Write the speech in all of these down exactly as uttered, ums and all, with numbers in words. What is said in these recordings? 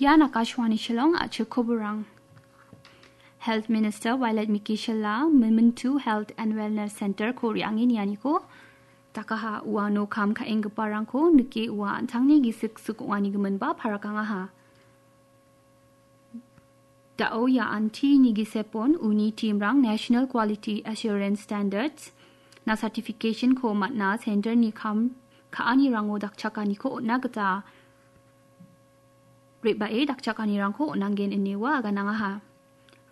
Ian Akashvani Shillong, a·chik koborang. Health Minister Violet Mikishila Mementu Health and Wellness Center-ko re·ange nianiko dakaha. Uano kam ka·enggiparangko nike ua an·tangni gisik sik ong·anigiminba parakangaha. Da·o ia antini gisepon uni team-rang National Quality Assurance Standards na certification-ko man·a center-ni kam ka·anirango dakchakaniko on·na gita re·bae dakchakanirangko on·angen ine ua aganangaha.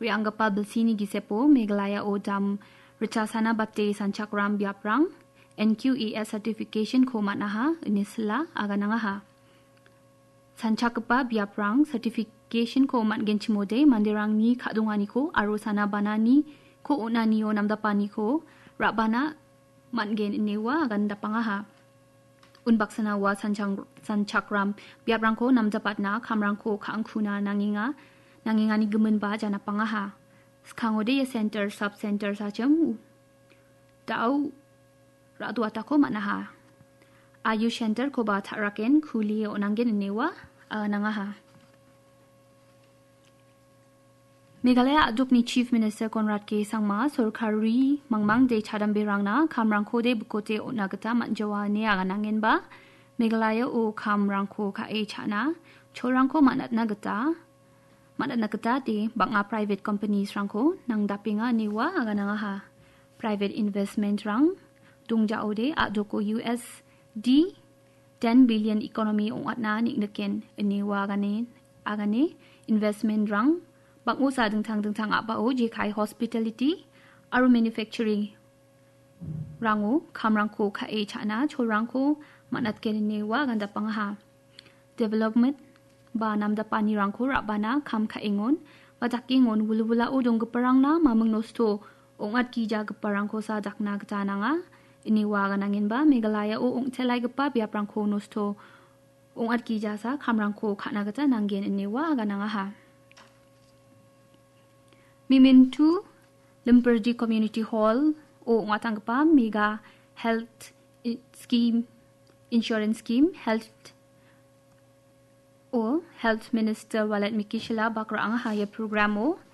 Re·anggipa bilsini gisepo Meghalaya-o dam richasana bate sanchakram biaprang N Q A S certification-ko man·aha ine sila aganangaha. Sanchakgipa biaprang certification-ko man·genchimode manderangni ka·donganiko aro sana bananiko on·anio namdapaniko ra·bana man·gen ine ua agandapangaha. Unbaksana ua sanchang-, sanchakram biaprangko namdapatna kamrangko ka·angkuna nangenga, nangenganigiminba janapangaha. Skangode ia center, sub-center sachim da·o ra·doatako man·aha. Ayush center-koba ta·raken kulie on·angen ine ua, ah, nangaha. Meghalaya a·dokni Chief Minister Conrad K Sangma sorkari mangmangde chadamberangna kamrangkode bikote on·na gita man·jawa ine aganangenba, Meghalaya-o kamrangko ka·e cha·na cholrangko man·atna gita, man·atna gita de bang·a private companies-rangko nangdapenga ine ua aganangaha. Private investment-rang dongjaode a·doko U S D ten billion economy ong·atna neng·niken ine ua agane, agane investment-rang bang·osa dingtang dingtang a·bao jekai hospitality aro manufacturing rango kamrangko ka·e cha·na cholrangko man·atgen ine ua agandapangaha. Development ba namdapanirangko ra·bana kam ka·engon ba dakengon wilwilao donggiparangna maming nosto ong·atgijagiparangkosa dakna gita nanga. Ine ua aganangenba Meghalaya-o ong·telaigipa biaprangko nosto ong·atgijasa kamrangko ka·na gita nanggen ine ua aganangaha. Mementu Limpirdi Community Hall-o ong·atanggipa Mega Health i-, Scheme, Insurance Scheme, Health o Health Minister Violet Mikishila bak ra·angaha ia program-o